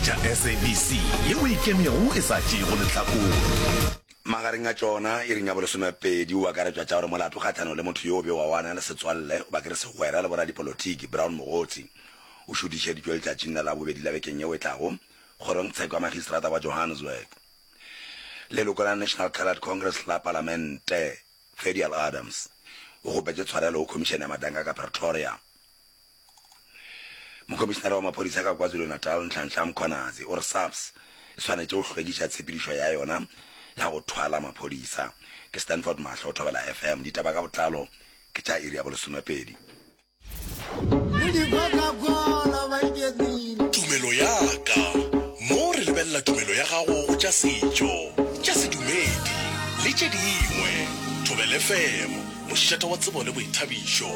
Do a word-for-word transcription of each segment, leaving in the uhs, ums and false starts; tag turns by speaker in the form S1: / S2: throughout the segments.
S1: Theeletša S A B C yeo e ikemego e sa tšeego lehlakore.
S2: Magareng a tšona, iring ya bolesomepedi o akaretšwa tša gore molato kgahlanong le motho yo o bewago a na le setswalle goba ke re segwera le boradipolotiki Brown Mogotsi o šuthišeditšwe letšatšing la Labobedi la bekeng yeo e tlago kgorongtsheko ya magistrata wa Johannesburg. Leloko la National Coloured Congress la Palamente Ferdial Adams o kgopetše tshwarelo go Khomišene ya Madanka ka Pretoria. Mokhomišenare wa maphodisa ka KwaZulu-Natal Nhlanhla Mkhwanazi o re SAPS e swanetše go hlwekiša tshepedišo ya yona ya go thwala maphodisa. Ke Stanford Mahlo, Thobela F M. Ditaba ka botlalo ke tša iri ya bolesomepedi.
S1: Tumelo ya ka. Mo re lebelela tumelo ya gago go tša setšo, tša sedumedi le tše dingwe. Thobela F M, mošate wa tsebo le boithabišo.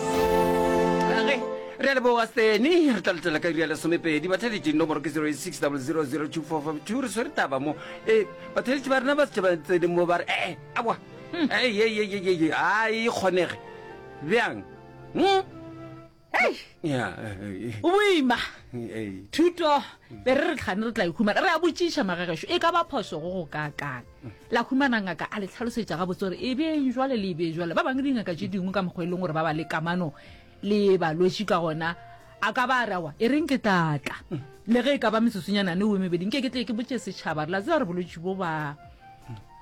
S3: Ge re a leboga Steny, re tla letela ka iri ya lesomepedi. Batheeletši, nomoro ke zero eight six double zero zero two four five two. Re swere taba mo. Ee, batheeletši ba rena ba setše ba tsene mo ba re, ee, aowa, ee, ee, ee, ee, ee, a e kgonege. Bjang? Hmm?
S4: Hei!
S3: Ya, eh,
S4: O boima.
S3: eh.
S4: Thuto, be re re tlhane re tla e humana. Re a botšiša magagešo, e ka ba phoso go go kaakang? La humana ngaka a le tlhalosetša gabotse gore e beng jwale le e be jwale. Ba bangwe dingaka tše dingwe ka mokgwa e leng gore ba ba le kamano le balwetši ka gona, a ka ba a re aowa, e reng ke tla tla. Le ge e ka ba metsotsonyanane o mebedi, nke ke tle ke botše setšhaba re la tseba gore bolwetši bo ba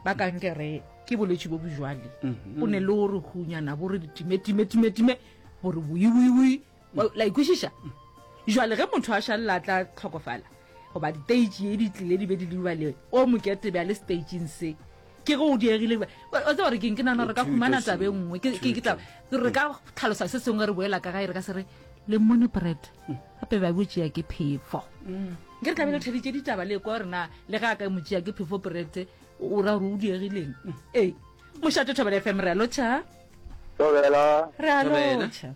S4: ba kankere ke bolwetši bo bojwale. Bo ne le gore hunyana bo re time time time time gore boi boi boi. La ikwešiša? Jwale ge motho a šalela a tla tlhokofala goba diteitši ye di tlile di be di le le o mokete bjale stageng se ke ge o diegile. O tseba gore keng, ke nagana re ka humana taba e nngwe ke ke tla re ka tlhalosa se sengwe re boela ka gae re ka se re le mmone bread gape ba bo tšea ke phefo. Nke re tlabe le theditše ditaba le kwa gore na le ge a ka mo tšea ke phefo bread o ra gore o diegileng. Ee, mošate Thobela F M, re a lotšha.
S5: Thobela.
S4: Re a lotšha.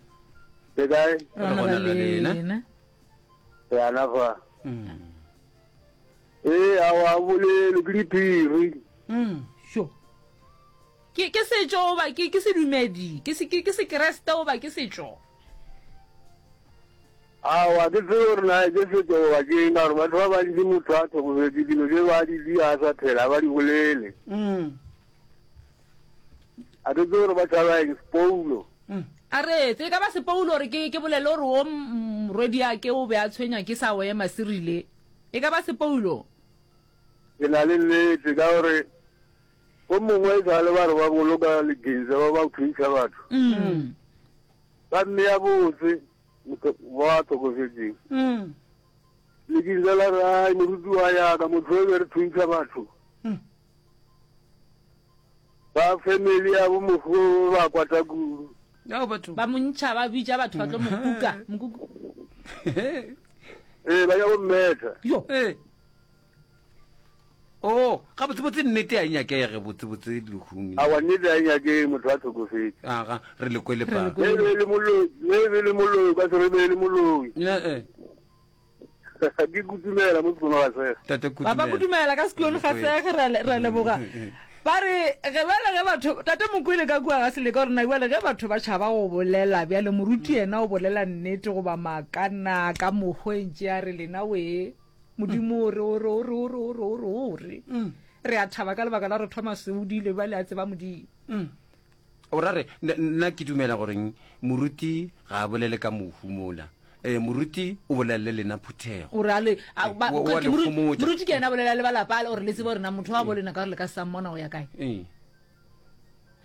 S5: Le kae?
S4: Re gona ra lena.
S5: Re ana fa. Ee, aowa bolelo ke diphiri.
S4: Sho. Ke ke setšo goba ke ke sedumedi, ke se ke ke sekreste goba ke setšo?
S5: Aowa ke tsebe gore na ke setšo goba ke eng, ka gore batho ba bantši motho a hlokofetše dilo tše ba di dia a sa phela ba di bolele. A ke tsebe gore ba tšhaba eng, sepoulo.
S4: A re etse, e ka ba sepoulo gore ke ke bolele gore o morwediake o be a tshwenya ke sa o ema se rile. E ka ba sepoulo?
S5: Ke na le nnete ka gore go mongwe e sa le ba re ba boloka leginse ba ba thuntšha batho. Ba mmea botse motho wa hlokofetšeng. Leginse la re ai moruti wa yaka motho e be re thuntšha batho. Ba family ya bo mofu ba kwata kudu.
S4: Ba mo ntšha ba bitša batho ba tlo mo kuka mokuku.
S5: Ee, ba ya go mmetha.
S4: Yo.
S3: Ee. Oh, ga botsebotse nnete a e nyakege botsebotse lehung.
S5: Aowa nnete a e nyakege motho a hlokofetše.
S3: Aga, re le kwele pa.
S5: Le be le moloi, le be le moloi, ka se re be le moloi.
S3: Ee.
S5: Ke kutumela mo sekolo ga sege.
S3: Tate
S4: Ba ba kutumela ka sekolo ga sege, re a leboga. Ba re ge bjale ge batho tate Mokwele ka kua ga Seleka gore na bjale ge batho ba tšhaba go bolela bjale moruti yena o bolela nnete goba maaka na ka mokgweng tše a re lena we Modimo o re o re o re o re o re o re o re. Re a thaba ka lebaka la gore Thomas o dile bjale a tseba Modimo.
S3: O ra re nna ke dumela goreng moruti ga a bolele ka mohu mola. Eh, moruti o bolela le lena phuthego.
S4: O re a le moruti ke yena a bolela le ba lapa gore le tsebe gore na motho wa bo lena ka gore le ka sa mmona o ya kae.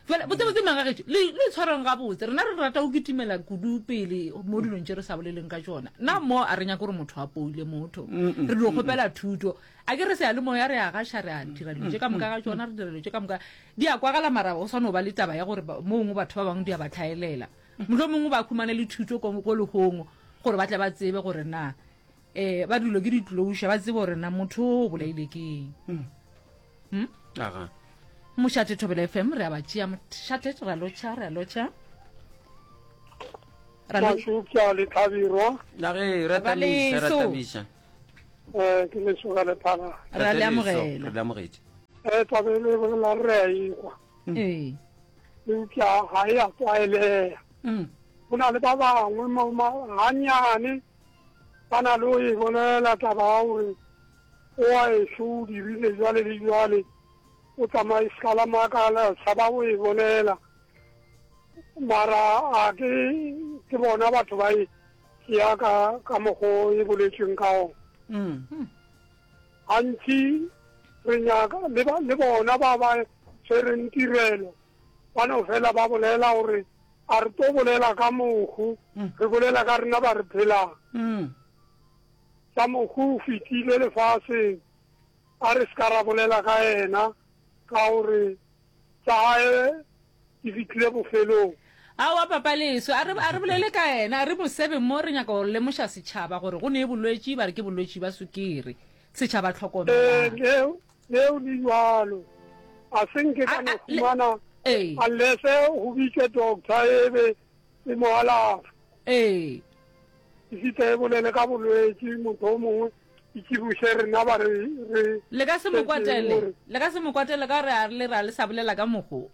S4: Jwale botse botse magagetšo le le tshwarang gabotse rena re rata go kitimela kudu pele mo dilong tše re sa boleleng ka tšona. Nna mo a re nyake gore motho a poile motho. Re dio kgopela thuto. A ke re seyalemoya re a gaša re a dira dilo tše ka moka ga tšona re dira dilo tše ka moka di a kwagala mara go sa no ba le taba ya gore mo gongwe batho ba bangwe di a ba tlhaelela. Mohlomongwe ba khumane le thuto ko lehong gore ba tle ba tsebe gore na eh ba dilo ke di-closure ba tsebe gore na motho o bolaile ke eng. Hmm?
S3: Aga.
S4: Mošate Thobela F M re a ba tšea mošate re a lotšha re a lotšha. Ra lo-
S5: Mašupša le Tlhabirwa.
S3: La ge re
S4: Ba
S3: tamiša, re
S4: leso.
S3: tamiša.
S5: Eh, ke lesoga le phala.
S4: Re a le
S3: Tate Leso,
S4: amogela.
S3: re le amogetše.
S5: Eh, taba e le bolela re a ikwa.
S4: Ee.
S5: Eupša ga e a tlwaelega. Go na le ba bangwe mo ma gannyane ba na le go e bolela taba ya gore Wa ešo o dirile jwale le jwale, o tsamaye se ka la makala, tshaba go e bolela. Mara a ke ke bona batho ba e tšea ka ka mokgo e boletšweng ka gona. Gantši re nyaka le ba le bona ba ba tshwereng tirelo ba no fela ba bolela gore a re tlo bolela ka mohu, re bolela ka rena ba re phelang. Sa mohu o fetile lefaseng, a re se ka ra bolela ka yena ka gore tša gae di fihlile bofelong.
S4: Aowa Papa Leso, a re, a re bolele ka yena, a re mo sebe mo, re nyaka go lemoša setšhaba gore go ne bolwetši, ba re ke bolwetši ba sukiri. Setšhaba
S5: Ee,
S4: hlokomelang.
S5: leo, leo le bjalo. A se nke ka
S4: A,
S5: no
S4: a, le,
S5: humana
S4: ee.
S5: unless go bitšwe doctor e be e mo alafa.
S4: Ee.
S5: E fihle e bolele ka bolwetši, motho o mongwe e tšibuše rena ba re, re
S4: Le ka se mo
S5: šetšeng
S4: kwatele,
S5: gore
S4: le ka se mo kwatele ka gore a re le ra le sa bolela ka mokgo.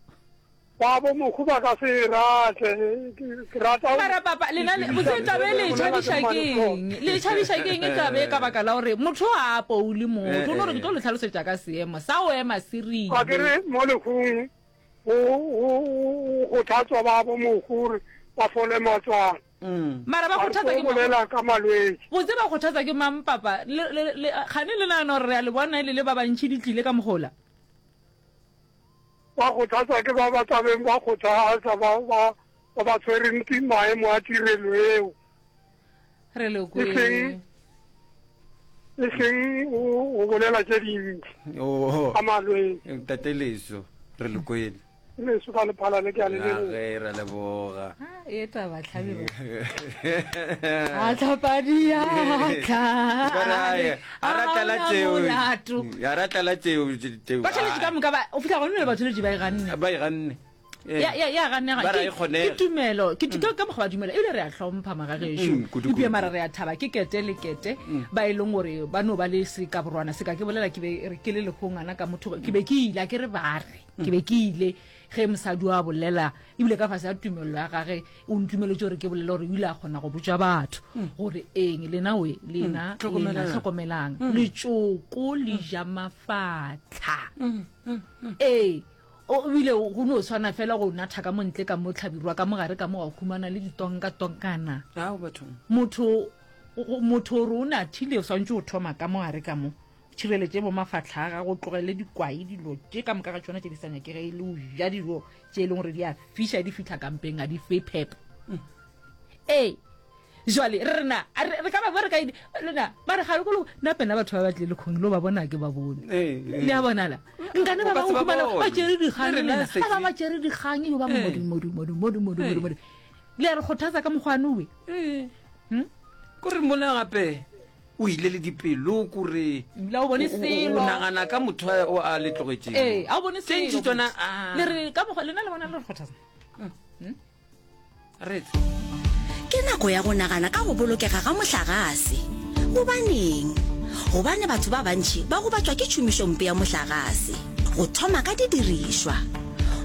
S5: Ba bo mokgo ba ka se e rate. Ke, ke rata go
S4: Mara papa, lena le, botse
S5: tsebiša
S4: taba e le e
S5: le bolela ke
S4: tšhabiša ke
S5: Mmalekgolo.
S4: eng? Le e tšhabiša ke eng taba e ka baka la gore motho ga a poule motho. O no re ke tlo le hlalosetša ka seemo sa go ema se
S5: Ga ke
S4: rile.
S5: re mo lehung go, go, go kgothatswa ba bo mokgo gore ba fole matswalo.
S4: Mara ba
S5: Ga re
S4: kgothatsa
S5: tlo
S4: ke mang?
S5: bolela ka malwetši.
S4: Botse ba kgothatsa ke mang papa? Le, le, le, kgane le nagana gore re a le bona e le le ba bantši di tlile ka mogola?
S5: Ba kgothatsa ke ba ba tlabeng ba kgothatsa ba, ba, ba ba tshwereng ke maemo a tirelo eo.
S4: Re le
S5: E
S4: kwele.
S5: seng, e seng go, go bolela tše dintši
S3: Oh,
S5: ka malwetši.
S3: Ntate Leso, re le kwele.
S5: Leso ka lephala le ke a le leboga.
S3: Ge re leboga.
S4: Ah, e taba tlhabelo. A tlhapa diatla.
S3: A ratela tšeo.
S4: Molato.
S3: A ratela tšeo tšeo.
S4: Ba tšheletše ka moka ba o fihla gone le batho ba e ganne.
S3: Ba e ganne.
S4: Ya ya ya ganega.
S3: Ba ra e
S4: Ke
S3: kgonega.
S4: ke tumelo. Ke ke ka mokgwa ba dumela. Ebile re a hlompha magagešo.
S3: Mm, kudu,
S4: Eupša
S3: kudu.
S4: mara re a thaba ke kete le kete ba e leng gore ba no ba le sekaborwana se ka ke bolela ke be re ke le lekgongana ka motho ke be ke ile a ke re ba re ke be ke ile ge mosadi wa bolela ebile ka fase ya tumello ya gage o ntumeletše gore ke bolele gore o ile a kgona go botša batho gore eng lena we lena lena hlokomelang letšoko le ja mafatlha ee o ebile go no tshwana fela go natha ka montle ka mo tlhabirwa ka mogare ka mo wa humana le ditonka-tonkana
S3: Ao bathong.
S4: motho o- motho o re o nathile o swantse o thoma ka mogare ka mo tšhireletše bo mafatlha a gago tlogele dikwai dilo tše ka moka ga tšona tše di sa nyakege e le o ja dilo tše e leng gore di a fiša di fitlha kampeng a di fe phepo ee jwale re rena a re re ka ba re ka lena ba re ga le kolo nna pena batho ba ba tlile lekgong lo ba bona ke ba bone
S3: Eh, eh.
S4: le a bonala nkane ba
S3: O ka
S4: bangwe
S3: se ba
S4: khumana
S3: bone.
S4: ba tšere dikgang
S3: Le rena
S4: lena
S3: se
S4: ba bangwe ba
S3: ke-
S4: tšere dikgang eo ba
S3: Eh.
S4: modi modi modi modi modi modi modi le a re kgothatsa ka mokgwane owe
S3: Eh.
S4: Hmm?
S3: Kore mola gape o ile le dipelo kore
S4: Ebile ha o bone
S3: o- o- o
S4: selo.
S3: nagana ka motho a- o a le tlogetšeng.
S4: ee a o bone
S3: Tše ntši
S4: selo
S3: tsona,
S4: botse.
S3: ah.
S4: le re ka mokgwa lena le bona le re kgothatsa
S3: Re etse.
S6: Ke nako ya go nagana ka go bolokega ga mohlagase. Gobaneng? Gobane batho ba bantši ba gobatšwa ke tšhomišompe ya mohlagase. Go thoma ka didirišwa.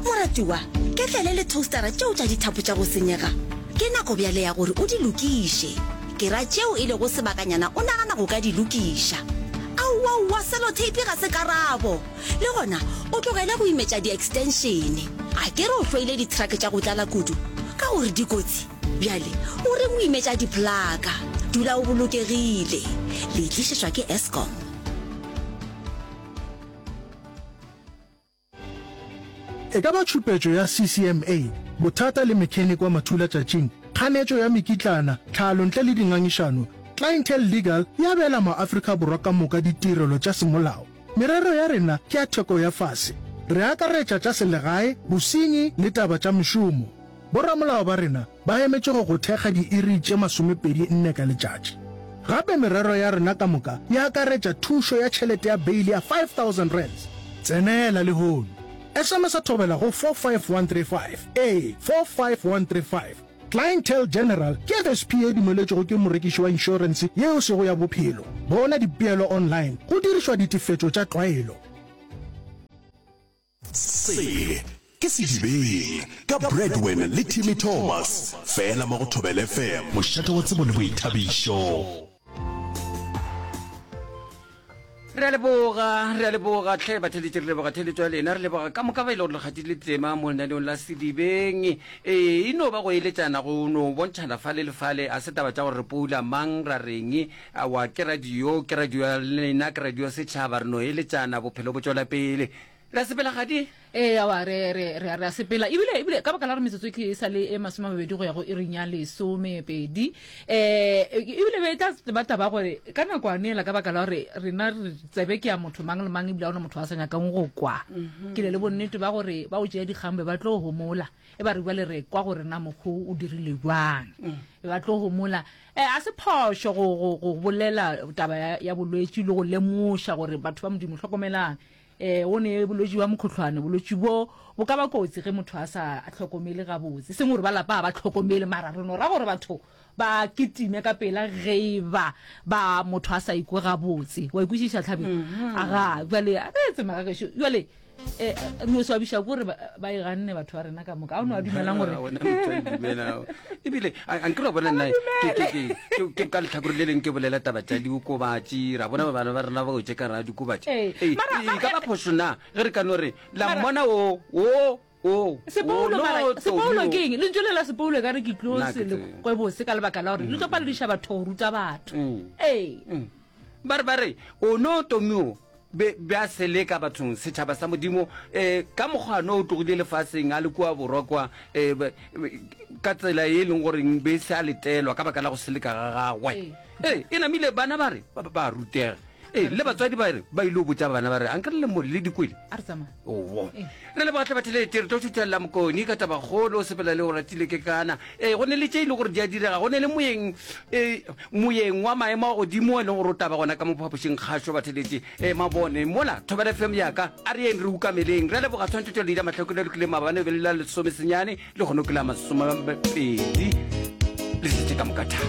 S6: Moratiwa, ketlele le toastera tšeo tša dithapo tša go senyega. Ke nako bjale ya gore o di lokiše. Ke ra tšeo e lego sebakanyana o nagana go ka di lokiša. Aowaowa, sellotape ga se karabo. Le gona, o tlogele go imetša di-extension. A ke re o hloile di-truck tša go tlala kudu? Ka gore di kotsi. Bjale, o reng o imetša diplaka? Dula o bolokegile. Le tlišetšwa ke Eskom.
S7: E ka ba tšhupetšo ya C C M A, bothata le mechanic wa mathula tšatšing, kganetšo ya mekitlana, tlhalo ntle le dingangišano, Clientele Legal e abela maAfrika Borwa ka moka ditirelo tša semolao. Merero ya rena ke ya theko ya fase. Re akaretša tša selegae, bosenyi le taba tša mešomo. Boramolao ba rena ba emetše go go thekga diiri tše masomepedi nne ka letšatši. Gape merero ya rena ka moka e akaretša thušo ya tšhelete ya beile ya five thousand rands. Tsenela lehono. S M S a thobela go four five one three five. Ee, four five one three five. Clientele General ke F S P e dumeletšwego ke morekiši wa inšorense yeo sego ya bophelo. Bona dipeelo online go dirišwa ditefetšo tša tlwaelo.
S1: Se ke Sedibeng ka Bradwin le Timmy Thomas fela mo go Thobela F M, mošate wa tsebo le boithabišo.
S3: Re a leboga, re a leboga hle batheletši, re leboga theletšo ya lena, re leboga ka moka ba e le gore le kgathile tema mo lenaneong la Sedibeng. Ee, e no ba go eletšana, go no bontšhana fale le fale, a se taba tša gore re poula mang ra reng, aowa ke radio, ke radio ya lena, ke radio ya setšhaba, re no eletšana, bophelo bo tšwela pele. Re a sepela Kgadi?
S4: Ee, aowa, re, re, re, re a sepela. Ebile, ebile, ka baka la gore metsotso ke e sa le e masome a mabedi go ya go iring ya lesomepedi, um ebile be e tla ba taba gore ka nakwane ela, ka baka la gore rena re tsebe ke ya motho mang le mang, ebile ga gona motho a sa nyakang go kwa. Ke ne le bonnete ba gore ba o tšea dikgang be ba tlo homola, e ba re bjale re kwa gore na mokgo o dirile bjang, be ba tlo homola. E, a se phošo go, go, go bolela taba ya, ya bolwetši le go lemoša gore batho ba Modimo hlokomelang. Ee, go ne bolwetši bja mokgohlwane. Bolwetši bo bo ka ba kotsi ge motho a sa hlokomele gabotse. E seng gore ba lapa ga ba hlokomele, mara re no ra gore batho ba kitime ka pela ge e ba ba motho a sa ikwe gabotse. Wa ikwešiša, Tlhabi? Aga, bjale a re etse magagešo. Bjale eh, re no swabiša ke gore ba, ba e ganne batho ba rena ka moka. A o no a dumelang gore
S3: Ah, wena motho a e dumelago. Ebile a a nkere wa bona nna ke ke ke ke ke ka lehlakore le leng ke bolela taba tša diokobatši, ra bona bana ba rena ba wetše ka gare ga diokobatši.
S4: Ee,
S3: Ee,
S4: mara
S3: e
S4: mara
S3: ka ba phošo na ge re ka no re la
S4: mara
S3: mmona o o o o
S4: Sepoulo
S3: no
S4: mara
S3: Tomi
S4: sepoulo
S3: o.
S4: ke eng? Lentšu le la sepoulo ekare ke tlo
S3: Nna
S4: se
S3: ke
S4: le
S3: tsebe.
S4: kwe bose ka lebaka la gore le tlo palediša batho go ruta batho.
S3: Mm.
S4: Ee.
S3: Mm. Ba re ba re o no Tomi o be be a seleka bathong setšhaba sa Modimo eh ka mokgwa no o tlogile lefaseng a le kua borwa kwa eh be- be- ka tsela e leng gore be se a letelwa ka baka la go seleka ga gagwe.
S4: Ee.
S3: Ee, e namile bana ba re ba ba rutega. Ee, le batswadi ba re ba ile go botša bana ba re ankere le mo le dikwele.
S4: A re tsamaya.
S3: Owo.
S4: Ee.
S3: Re leboga hle batheletši, re tlo šuthelela Mokoni ka tabakgolo, o sepela le Oratile Kekana. Ee, go ne le tše e le gore di a direga, go ne le moyeng, ee, moyeng wa maemo a godimo e leng gore o taba gona ka mo phapošing kgašo batheletši. Ee, mabone mola Thobela F M ya ka, a re yeng re ukameleng. Re a leboga tshwantšhetšo Leida Mahlako le lokile maabane e be le la lesomesenyane, lehono ke la masomepedi. Le šetše ka moka tha.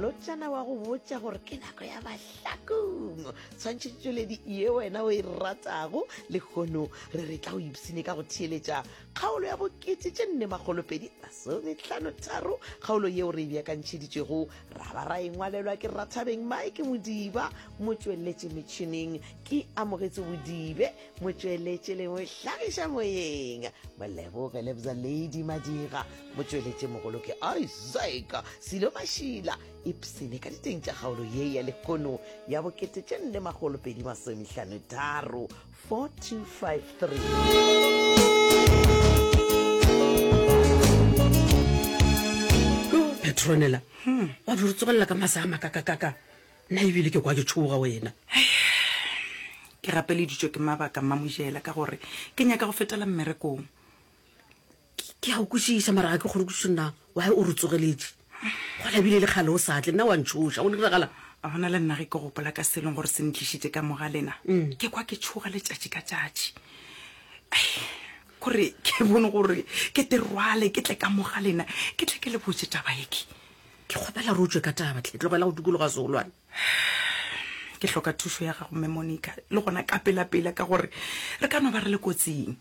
S8: Molotšana wa go botša gore ke nako ya mahlakong. Tshwantšhetšoledi ye wena o e ratago lehono re re tla o ipsine ka go theeletša kgaolo ya bokete tše nne makgolo pedi masomehlano tharo, kgaolo yeo re e beakantšheditšwego ra ba ra e ngwalelwa ke Rathabeng Mike Modiba, motšweletši metšhineng ke Amogetše Bodibe, motšweletši le mohlagiša moyeng Moleboge Lebza Lady Madira, motšweletši mogolo ke Isaac Silo Mašila. Ipsene ka diteng tša kgaolo ye ya lehono ya bokete tše nne makgolo pedi masomehlano tharo, four two five three.
S9: Petronella, wa di re tsogelela ka masa a makakakaka. Nna ebile ke kwa ke tšhoga wena.
S10: Ke gapeleditšwe ke mabaka, Mmamojela, ka gore ke nyaka go fetela mmerekong.
S9: Ke a go kwešiša, mara ga ke kgone kwešiša na why o re tsogeletše. Go labile le kgale o sa tle, nna wa ntšhoša. Go diragala?
S10: A bona le nna ge ke gopola ka se leng gore se ntlišitše ka mo ga lena, ke kwa ke tšhoga letšatši ka tšatši. Ai, kore ke bone gore ke te rwale ke tle ka mo ga lena, ke tle ke le botše taba ye ke.
S9: Ke kgopela re o tšwe ka taba tle, tlogela go dikologa seolwane.
S10: Ke hloka thušo ya gago, Mme Monica, le gona ka pelapela, ka gore re ka no ba re le kotsing.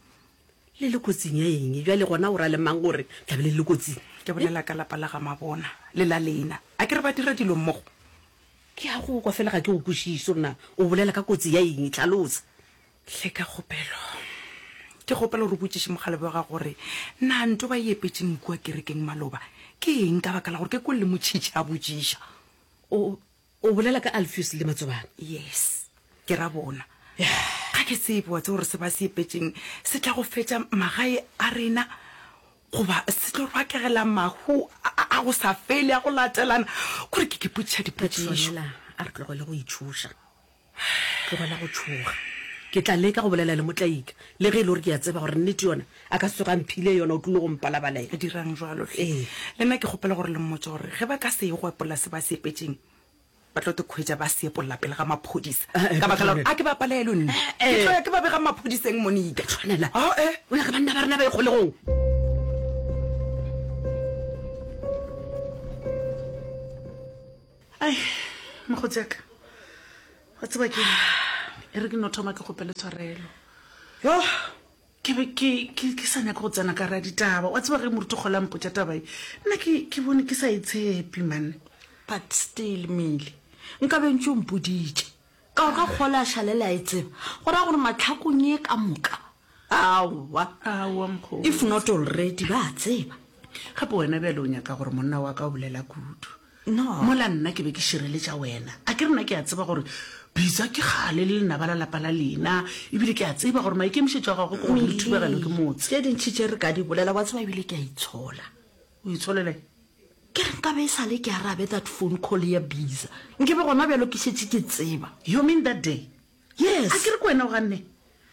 S9: Le le kotsing ya eng? Bjale gona o ra le mang gore tla be le le kotsing?
S10: Ke bolela ka lapa la ga Mabona le la lena. A ke re ba dira dilo mmogo?
S9: Ke a go kwa, fela ga ke go kwešiše gore na o bolela ka kotsi ya eng. Hlalosa.
S10: Hle ka kgopelo, ke kgopela gore o botšiše mokgalabje wa gago gore na nto ba e epetšeng kua kerekeng maloba ke eng, ka baka la gore ke kwele le motšhitšhi a botšiša.
S9: O, o bolela ka Alfios le Matsobane?
S10: Yes, ke ra bona. Ga ke tsebe, wa tseba gore se ba se epetšeng se tla go fetša magae a rena goba se tlo bakegela mahu a, a go sa fele a go latelana. Kore ke ke potšiša dipotšišo.
S9: Petronella, a re tlogele go itšhoša. Tlogela go tšhoga. Ke tla leka go bolela le Motlaika, le ge e le gore ke a tseba gore nnete yona a ka se tsoge a mphile yona, o tlile go mpalabalela.
S10: Dirang jwalo hle.
S9: Ee.
S10: Le nna ke kgopela gore le mmotše gore ge ba ka se ye go epolla se ba se epetšeng, ba tlo te khwetša ba se epolla pele ga maphodisa.
S9: Eh, eh,
S10: Ka baka la gore
S9: Petronella.
S10: a ke ba palelwe nna.
S9: Eh,
S10: Ke
S9: eh.
S10: tlo ya ke ba bega maphodiseng, Monica.
S9: Petronella.
S10: Oh, eh.
S9: O nyaka banna ba rena ba ye kgolegong?
S11: Ai, mokgotsi wa ka, wa tseba ke eng? E re ke no thoma ke kgopele tshwarelo.
S10: Yo!
S11: Ke be ke, ke, ke sa nyake go tsena ka ra ditaba. Wa tseba ge moruti Kgole a mpotša taba ye, nna ke, ke bone ke sa e tshepe, man.
S12: But still, Mili, nka be ntše o mpoditše. Ka gore ga kgole a šalela a e tseba, go raya gore mahlakong ye ka moka, aowa,
S11: Aowa, mokgotsi.
S12: if not already, ba a tseba.
S11: Gape wena bjale o nyaka gore monna wa ka o bolela kudu.
S12: No.
S11: Mola nna ke be ke šireletša wena. A ke re nna ke a tseba gore Bitsa ke kgale le lenaba la lapa la lena, ebile ke a tseba gore maikemišetšo a gagwe ke gore le thubegelwe ke motse.
S12: Tše dintši tše re ka di bolela, wa tseba ebile ke a itshola.
S11: O itsholela eng?
S12: Ke re nkabe e sa le ke arabe that phone call ya Biza, nke be gona bjalo ke šetše ke tseba.
S11: You mean that day?
S12: Yes.
S11: A ke re ke wena o ganne?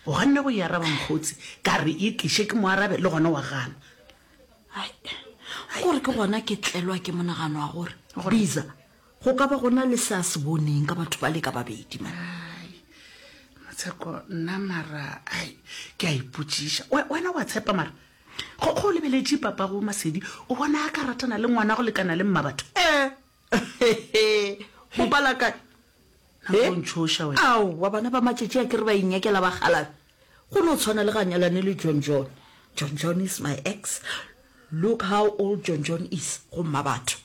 S11: O ganne go e araba mokgotsi, ka re e tliše ke mo arabe, le gona wa gana.
S12: Ai, gore ke gona ke tlelwa ke monagano wa gore Biza go ka ba go na le se a se boneng ka batho ba le ka babedi man.
S11: Ai, Matsheko, nna mara, ai, ke a ipotšiša. We, wena wa tshepa mara? Go, go lebeletše papago Masedi, o bona a ka ratana le ngwana go lekana le mmabatho?
S12: Eh, o bala kae?
S11: Nako o ntšhoša wena.
S12: Aowa, bana ba matšatši a ke re ba inyakela bakgalabe. Go no tshwana le ga nyalane le John John. John John is my ex. Look how old John John is, go mmabatho.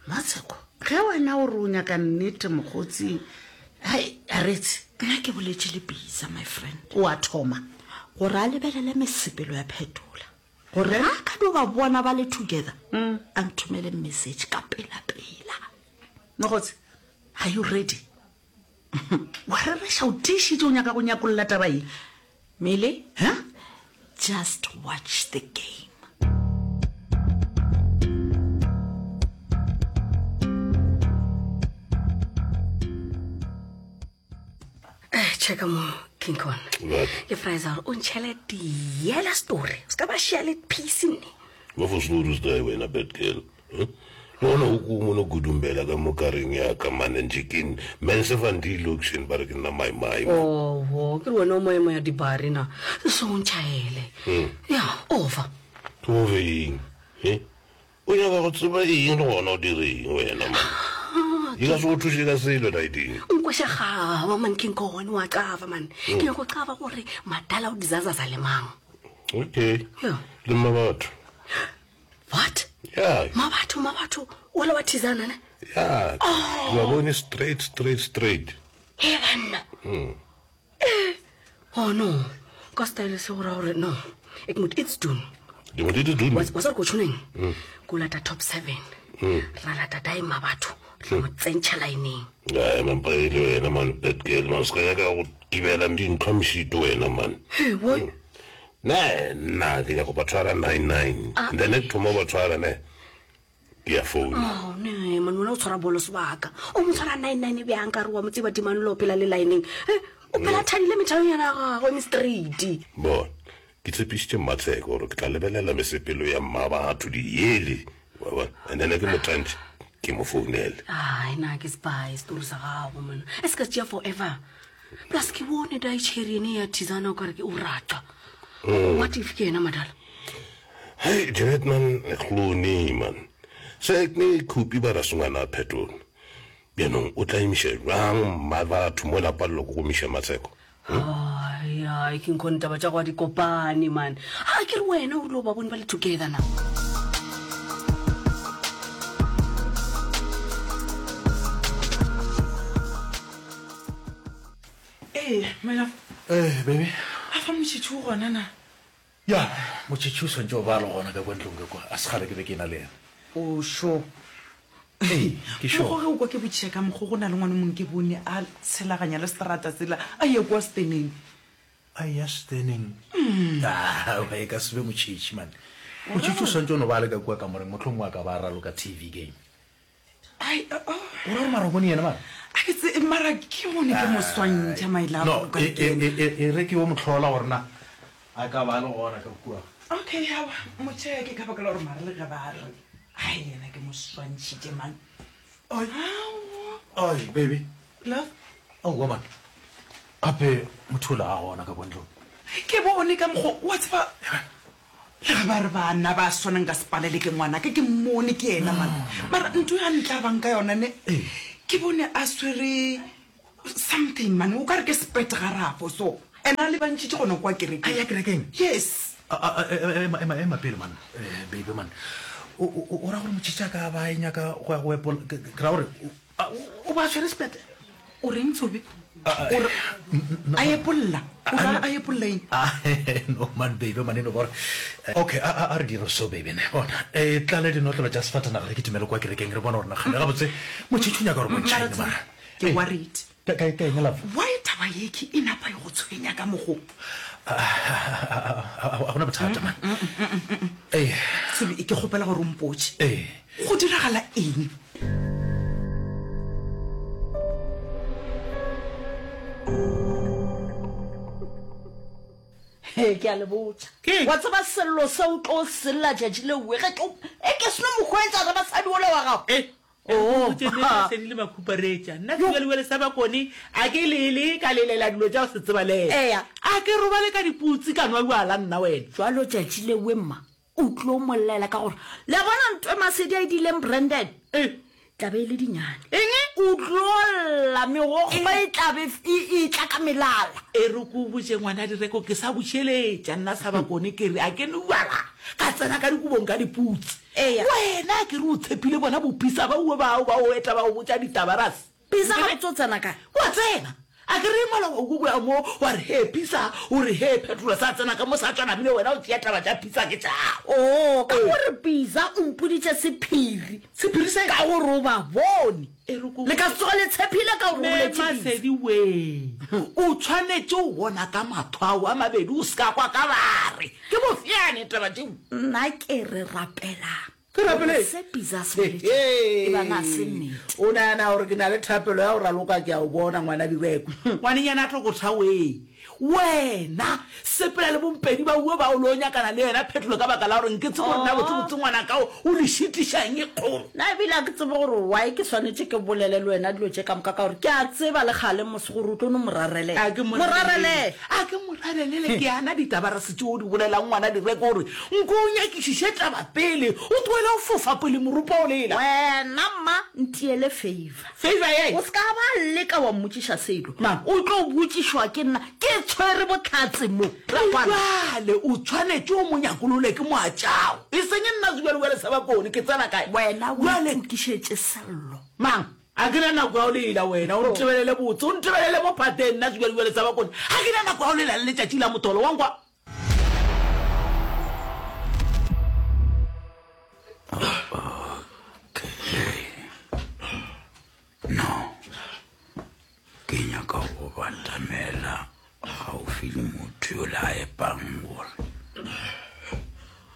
S11: Matsheko, ge wena o re o nyaka nnete mokgotsi, hai, aretse.
S12: Nna ke boletše le Bisa, my friend.
S11: O a thoma.
S12: Gore a lebelele mesepelo ya Phetola. Gore ge a ka no ba bona ba le together, a nthomele message ka pela-pela.
S11: Mokgotsi, are you ready? Wa rereša, o tiišitše o nyaka go nyakolla taba ye?
S12: Mele,
S11: Huh?
S12: Just watch the game.
S9: Eh, checka mo King Kong. Ke Fraser o ntšhele diela story. O ska ba share le piece nne.
S1: Ba fo story se wena bad girl. Huh? Le gona o ko mono gudumbela ka mo kareng ya ka mane nje ke mense van die location ba re ke nna mai mai.
S9: Oho, ke re wena o moemo ya dibari na. Se o ntšhaele.
S1: Hmm.
S9: Ya, over.
S1: Ke over eng? Eh? O nyaka go tseba eng le gona o dire eng wena man?
S9: Ah,
S1: E ka se go thuše ka selo Naiding.
S9: Nkweša gaba man King Kong wa qava man.
S1: Hmm.
S9: Ke nyaka go qava gore madala o dizazaza le mang.
S1: Okay.
S9: Ya.
S1: Le mmabatho.
S9: What?
S1: Yeah.
S9: Mabatho, mabatho, wala wa thizana ne?
S1: Yeah.
S9: Oh.
S1: Ke ba bone straight, straight, straight.
S9: He banna.
S1: Mm.
S9: Eh. Oh no. Ka style se go ra gore no. Ek moet iets doen.
S1: Jy moet iets doen.
S9: Wa wa sa re ko tshwaneng?
S1: Mm.
S9: Ko lata top seven.
S1: Mm.
S9: Ra lata dai mabatho. Ra mo tsentšha lineng.
S1: Ai man, pa ile wena man, bad girl man, se ka nyaka go kibela dintlha mešito wena man.
S9: Hey, what?
S1: Mm. Ne, nna ke nyaka go ba tshwara nine nine.
S9: Ah.
S1: And then ke thoma go ba tshwara ne. Ke a founa.
S9: Oh, ne, man, wena o tshwara bolo sebaka. O mo tshwara nine nine bjang ka re wa mo tseba dimane lo phela le lineng. Eh, o phela
S1: Mm.
S9: thadile methalonyana ya gagwe me straight.
S1: Bona, ke tshepišitše Mmatsheko gore ke tla lebelela mesepelo ya mmabatho diele. Wa bona? And then ke mo tantše, ke mo founele.
S9: Ai, na ke spy story sa gago man. E se ka tšea forever. Plus ke bone dai cherry ene ya thizana o kare ke o rata.
S1: Mm.
S9: What if ke yena madala?
S1: Hey, Janet man, hlone man. Se ek ne khupi ba rasungana phetola. Bjanong o tla emiša jwang mmabatho mo lapa le go gomiša Matsheko?
S9: Ai, ai, ke nkgone taba tša go di kopane man. Ha ke re wena o rile o ba bone ba le together now.
S10: Ee, my love.
S13: Eh, baby.
S10: A fa motšhitšhi o gona na?
S13: Ya, motšhitšhi o swantše o ba le gona ka kwa ntlong ka kwa. A se kgale ke be ke na le yena.
S10: O sure?
S13: Ee, ke sure.
S10: Mokgo ge o kwa ke botšiša ka mokgo go na le ngwana o mongwe ke bone a tshelaganya le seterata sela a ye kwa steneng.
S13: A ya steneng?
S10: Mm.
S13: Ah, e ka se be motšhitšhi man. Motšhitšhi o swantše o no ba le ka kua kamoreng, mohlomongwe a ka ba a raloka T V game.
S10: Ai, oh, oh.
S13: O ra gore mara o bone yena mara?
S10: A ke tse, mara ke bone ke mo swantšha, my love,
S13: No,
S10: o ka
S13: e, e,
S10: ke
S13: e, e, e re ke yo mohlola gore na a ka ba le gona ka kua.
S10: Okay, aowa, mo check ka baka la gore mara le ge ba re, ai, yena ke mo swantšhitše man.
S13: Ai.
S10: Aowa.
S13: Ai, baby.
S10: Love?
S13: Aowa man. Gape motho o la a gona ka kwa ntlong.
S10: Ke bone ka mokgo, wa tseba, le ge ba re bana ba swanang ka sepalele ke ngwana ke, ke mmone ke yena man. Mara ntho ya ntlabang ka yona ne, ke bone a swere something man, o ka re ke sepete garafo so. And a lebantšhitše gona kwa kerekeng.
S13: A ya kerekeng?
S10: Yes.
S13: A, a, a, e, ema, ema, ema pele man, eh, baby man. O, o, o, o ra gore motšhitši a ka ba e nyaka go ya go epolla, ke, ke ra gore o, a, o, o ba swere sepete?
S10: O reng Tsobe? O re a epolla. O ra a epolla eng?
S13: No man baby man eno gore. Okay, a a re dire so baby ne. Bona, e tlale dinotlolo tša sefatanaga re kitimele kwa kerekeng re bone gore na kgane gabotse motšhitšhi o nyaka gore bontšha eng mara.
S10: Ke worried.
S13: Ka ka ka eng love?
S10: Why taba ye ke e napa e go tshwenya ka mokgo?
S13: A gona bothata man. Ee.
S10: Tsobe ke kgopela gore o mpotše.
S13: Ee.
S10: Go diragala eng?
S12: He, ke a le botša. Wa tseba sello se o tlo sella tšatši lewe ge tlo e ke seno mo hwetša re basadi ola wa gago.
S11: Oh, Sedi le makhuparetša. Nna sebjalebjale sa Bakone a ke lele ka lelela dilo tša go se tsebalege.
S12: Eya.
S11: A ke robale ka diputsi ka nwa bjala nna wena.
S12: Jwalo tšatši lewe mma o tlo mo llela ka gore le a bona ntwe Masedi a e diileng Brandon. Tla be e le dinyane.
S11: Eng?
S12: O tlo lla, megokgo e tla be e etla ka melala.
S11: E re ke o botše ngwana Direko, ke sa bušeletša nna sa Bakone ke re a ke no bjala ka tsena ka dikobong ka diputsi.
S12: Eya.
S11: Wena a ke re o tshepile bona boPisa ba uwe bao ba o eta ba o botša ditaba ras.
S12: Pisa gabotse o tsena kae?
S11: Wa tsena. A ke re maloba o ko mo wa re he Pisa, o re he Phetola sa tsena ka mo sa tšwa namile wena o tšea taba tša Pisa ke tšago.
S12: Oo, ka gore Pisa o mpoditše sephiri.
S11: Sephiri se?
S12: Ka gore o ba bone.
S11: E re ko
S12: Le ka se tsoge le tshephile ka gore o
S11: Me
S12: boletše Pisa.
S11: Masedi wee, o tshwanetše o bona ka mahlo ao a mabedi o se ka kwa ka ba re ke bofeane taba tšeo.
S12: Nna ke re rapelang.
S11: Ke rapele.
S12: Gore se Pizza se boletšego e ba na se nnete.
S11: O nagana gore ke na le thapelo ya go raloka? Ke a o bona, ngwana Direko. Ngwanenyana a tlo go tha wee. Wena, sepela le bompedi ba uwe ba o lo nyakana le yena Phetolo ka baka la gore nke tsebe gore na botsebotse ngwanaka o o le šitiša eng e kgolo.
S12: Na ebile ga ke tsebe gore why ke swanetše ke bolele le wena dilo tše ka moka ka gore ke a tseba le kgale mos gore o tlo no mo rarelela.
S11: A ke mo
S12: Mo rarelele.
S11: A ke mo rarelele ke ana ditaba re se tšeo o di bolelang ngwana Direko gore Nko o nyakišiše taba pele, o tlohele go fofa pele morupa o lela.
S12: Wena mma, ntiele favor.
S11: Favor ye?
S12: O se ka ba leka wa mmotšiša selo.
S11: Mang?
S12: O tlo botšišwa ke nna, ke tshwere bohlatse mo. Rakgwana.
S11: Bjale o tshwanetše o mo nyakolole ke moatšago, e seng nna sebjalebjale sa Bakone. Ke tsena kae?
S12: Wena o
S11: Bjale.
S12: itokišetše sello.
S11: Mang? A ke na nako ya go lela wena, o ntebelele botse, o ntebelele mo phateng, nna sebjalebjale sa Bakone. Ga ke na nako ya go lela le letšatši la motolo, wa nkwa?
S2: Okay. No. Ke nyaka go batamela gaufi le motho yola a epang gore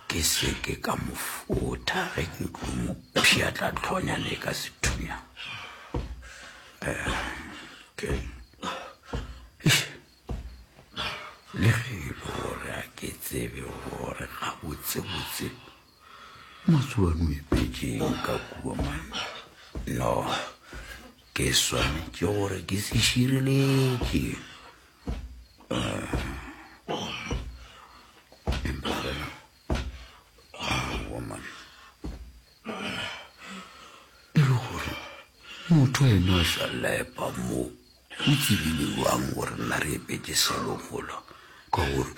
S2: ke se ke ka mo fotha ge ke tlo mo pšhatla tlhonyane ka sethunya. Eh, okay. Eish. Le ge e le gore a ke tsebe gore gabotsebotse Matsobane o ipetšeng ka kua man. No, ke swanetše gore ke se šireletše. Eh, empa fela, aowa man. E le gore motho ena a sa lepa mo o tsebile jwang gore nna re epetše selo mola ka gore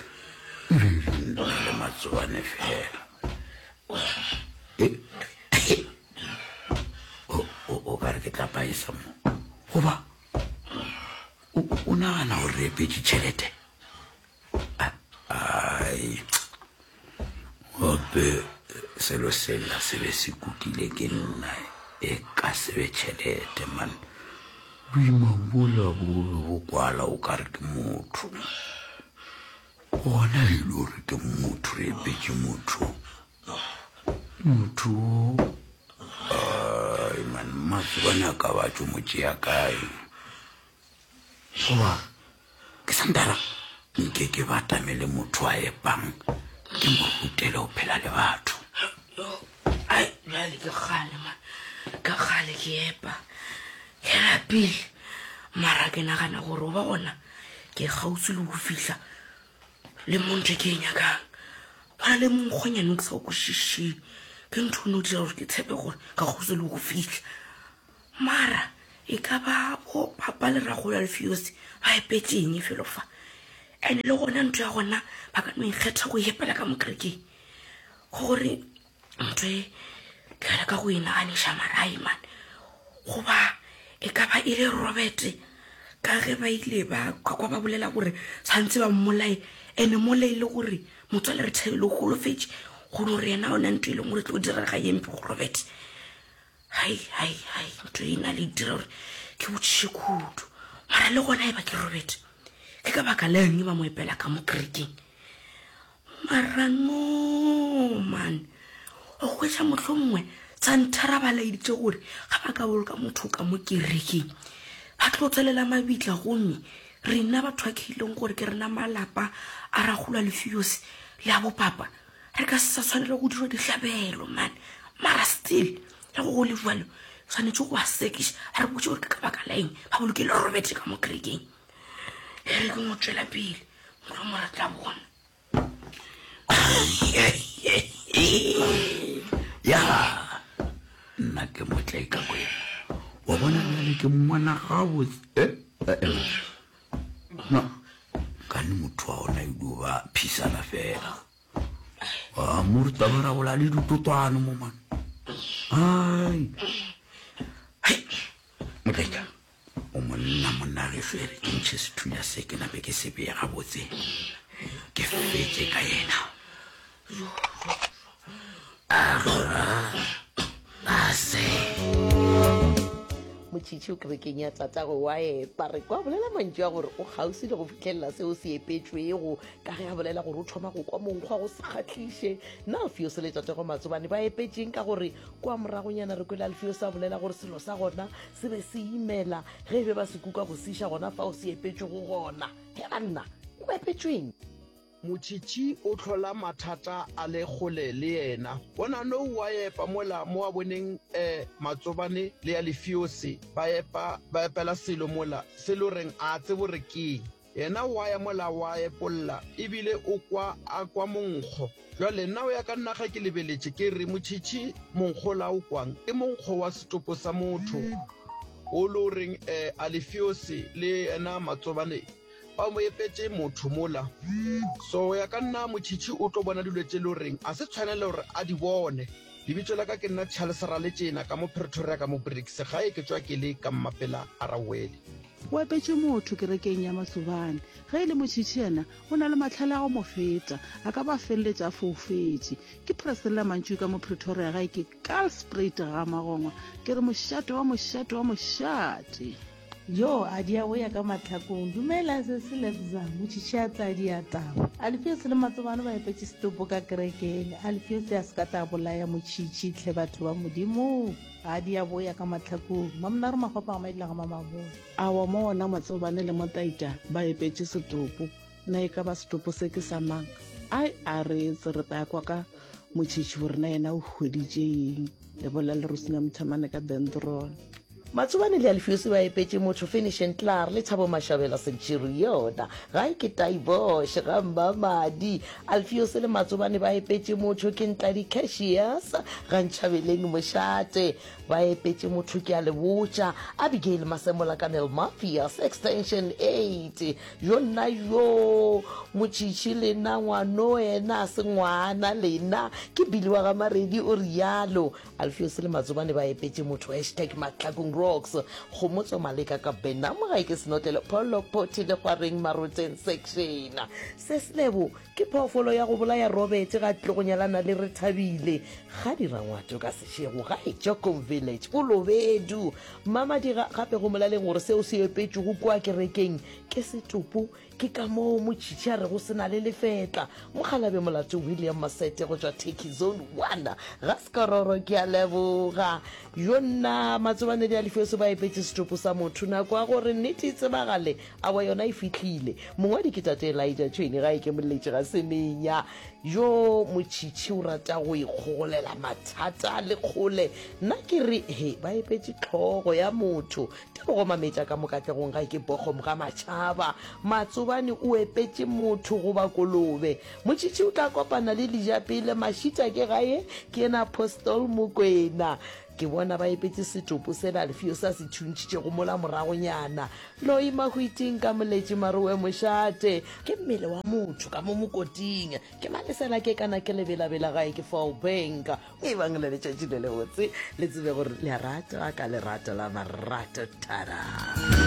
S2: e be e le nna le Matsobane fela. E, o, o, o ka re ke tla paesa mo goba o, o nagana gore re epetše tšhelete? Ai, gape selo sela se be se kukile ke nna e ka se be tšhelete man. Boima bola bo be bo kwala o ka re ke motho. Gona e le gore ke motho re epetše motho. Motho wo ai man Matsobane a ka ba tšo mo tšea kae? Goba ke santara nke ke batamele motho a epang ke mo rutele go phela le batho.
S14: Ai, bjale ke kgale man, ke kgale ke epa, ke lapile, mara ke nagana gore o ba gona ke kgauswi le go fihla le mo ntho e ke e nyakang. Go na le monkgonyane o ke sa o kwešišeng, ke ntho o no dira gore ke tshepe gore ka kgauswi le go fihla. Mara e ka ba bo papa le ragolo Alfios ba epetše eng felo fa? Ene le gona ntho ya gona ba ka no ikgetha go epela ka mo kerekeng. Gore ntho e ke leka go e naganiša mara ai man. Goba e ka ba e le Robert Ka ge ba ile ba ka kwa ba bolela gore tshwanetse ba mmolaye, ene mola e le gore motswale Rethabile o golofetše, go no re yena ga ona ntho e leng gore e tlo direga ye mpe go Robert. Hai, hai, hai, ntho e na le e dira gore ke botšiše kudu. Mara le gona e ba ke Robert, ke ka baka la eng ba mo epela ka mo kerekeng? Mara no man, o hwetša mohlomongwe Santhara ba laeditše gore ga ba ka boloka motho ka mo kerekeng ba tlo tswelela mabitla, gomme rena batho ba ke ileng gore ke rena malapa a Rakgolo Alfios le a bopapa re ka se sa tshwanela go dirwa dihlabelo man. Mara still le go go le jwalo tshwanetse go ba sekiša ba re botse gore ke ka baka la eng ba bolokile Robert ka mo kerekeng. E re ke mo tšwela pele mohlomongwe re tla bona.
S15: Ya, nna ke motle ka kwena. Wa bona bjale ke mmona gabotse. Eh, eh, eh. No, kane motho wa ona e dio ba phisana fela. A mo re taba ra bola le ditotwane mo man. Ai. Hai. Motlaika. O monna monna gešo e re ke ntšhe sethunya se ke nape ke se beye gabotse ke fetše ka yena. Ase.
S8: Motšhitšhi o kerekeng ya tatagwe wa epa. Re kwa bolela mantšu a gore o kgauswi le go fihlelela seo se epetšwego ka ge a bolela gore o thoma go kwa monkgo wa go se kgahliše. Na Alfios le tatagwe Matsobane ba epetšeng ka gore kwa moragonyana re kwele Alfios a bolela gore selo sa gona se be se imela ge e be ba se kuka go se iša gona fao se epetšwego gona. He banna, o epetšweng?
S16: Motšhitšhi o hlola mathata a le kgole le yena. Bona nou wa epa mola mo a boneng eh Matsobane le ya Lefiose ba epa ba epela selo mola se lo reng a tsebo re keng. Yena wa ya mola wa epolla ebile o kwa a kwa monkgo. Jwale nna o ya ka nna ge ke lebeletše ke re motšhitšhi monkgo la o kwang ke monkgo wa setopo sa motho o lo reng eh Alefiose le yena Matsobane ba mo epetše motho mola. So go ya ka nna motšhitšhi o tlo bona dilo tše lo reng a se tshwanele gore a di bone. Lebitso la ka ke nna Charles Raletšena ka mo Pretoria ka mo Brits gae ke tšwa ke le ka Mmapela a Rawele.
S17: O epetše motho kerekeng ya Matsobane. Ge e le Motšhitšhi yena, o na le mahlale a go mo feta. A ka ba feleletša a foufetše. Ke Priscilla Mantšu ka mo Pretoria gae ke Kaalspruit ga Magongwa. Ke re mošate wa mošate wa mošate.
S18: Joo, a di a boya ka mahlakong. Dumela, sesi Lebza, Motšhitšhi a tla dia taba. Alfios le Matsobane ba epetše setopo ka kerekeng. Alfios a se ka tla bolaya Motšhitšhi, hle batho ba Modimo. Ga di a boya ka mahlakong. Mamonare Makgopa ga Maidila ga Mamaboya.
S17: Awa mo ona Matsobane le Motaita ba epetše setopo. Na e ka ba setopo se ke sa mang? Ai, a re etse re tla kwa ka Motšhitšhi gore na yena o hweditše eng. Lebolela le Rosina Mothamane ka Dendron.
S8: Matsobane le Alfios ba epetše motho Finish and Klaar le Thabo Mashabela Centurion. Gae ke Taibosh ga Mmamadi. Alfios le Matsobane ba epetše motho ke Ntladi Cassius ga Ntšhabeleng Mošate. Ba epetše motho ke a le botša Abigail Masemola ka Nellmapius Extension eight. Yo nna yo Motšhitšhi lena ngwano ena a se ngwana lena ke Billy wa ga Maredi o realo. Alfios le Matsobane ba epetše motho hashtag Mahlakung Rocks Kgomotso Maleka ka Benham gae ke senotlelo Pholo Phothi Lekgwareng Maroteng Section Se Selebo ke phoofolo ya go bolaya Robert ga tlo go nyalana le Rethabile ga dira ngwato ka sešego gae Jokom Village Bolobedu Mamadiga gape go molaleng gore seo se epetšwego kua kerekeng ke setopo Ke ka moo Motšhitšhi a rego se na le lefetla. Mokgalabje Molato William Masete go tšwa Turkey Zone one ga Sekororo ke a leboga. Yo nna Matsobane le Alifeso ba epetše setopo sa motho. Nako ya gore nnete e tsebagale awa yona e fihlile. Mongwadi ke Tate Elijah Tšhwene ga e ke moletše ga semenya. Yo Motšhitšhi o rata go ikgogolela mathata le kgole. Nna ke re he ba epetše hlogo ya motho. Tebogo Mametša ka mo Katlegong gae ke Bochum ga Matšhaba. Matsobane o epetše motho goba kolobe. Motšhitšhi o tla kopana le Lijapele Mashita ke gae ke yena Apostle Mokwena. Ke bona ba epetše setopo sela Alfio sa se thuntšhitšego mola moragonyana. Loi Mahwiting ka Moletši Marowe Mošate. Ke mmele wa motho ka mo mokoting. Ke malesela ke kana ke lebelabela gae ke Vaalbank. Ebang le letšatši le lebotse, le tsebe gore le a ratwa ka lerato la marato. Thada!